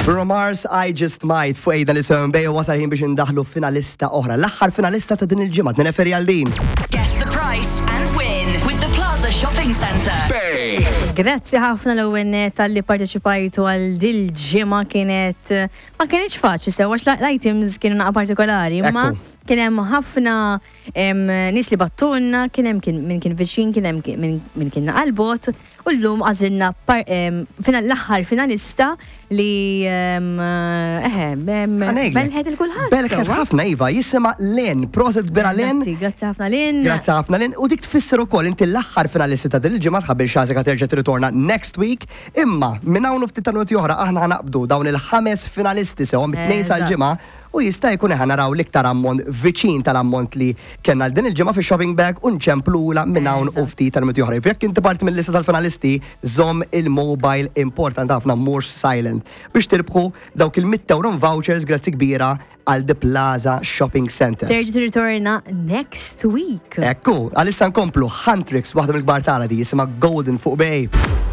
Bruno Mars, I Just Might, fuq ejda li seven bay u wasal ħin biex indaħlu finalista oħra. L-aħħar finalista ta' din il-ġimgħa, nireferi għal din. Guess the price and win with the Plaza Shopping Centre. Grazzi ħafna l-ewwel nett talli parteċipajtu għal dil-ġimgħa kienet ma kienx faċli sew għax l-items kienu naqa partikolari, imma kien hemm ħafna nies li bagħtulna, kien hemm min kien viċin, kien hemm min kien naqa' l-bogħod. U llum għażilna l-aħħar finalista li eħe, belħet il-kulħadd. Belħet ħafna iva, jisimha Lynn, proset kbira Lynn. Grazzi ħafna Lynn. Grazzi ħafna Lynn. U dik tfisser ukoll inti l-aħħar finalisti ta' din il-ġimgħa tħabbil xażek terġa' tirritorna next week. Imma minn hawn u ftit ta' minuti oħra aħna ħa naqbdu dawn il-ħames finalisti sewwa mit-tnejn sal-Ġimgħa U jista' jkun eħe naraw l-iktar ammont viċin tal-ammont li kellna għal din il-ġimgħa fix-shopping bag u nċemplulha minn hawn u ftit tal-minuti oħra. Jekk inti parti mill-lista tal-finalisti, żomm il-mobile importanti ħafna mhux silent biex tirbħu dawk il-mitt ewro vouchers grazzi kbira għal The Plaza Shopping Centre. Terġa' tirritorna next week. Ekku, għalissa nkomplu Huntrix, waħda mill-kbar tagħna di jisimha Golden fuq Bay.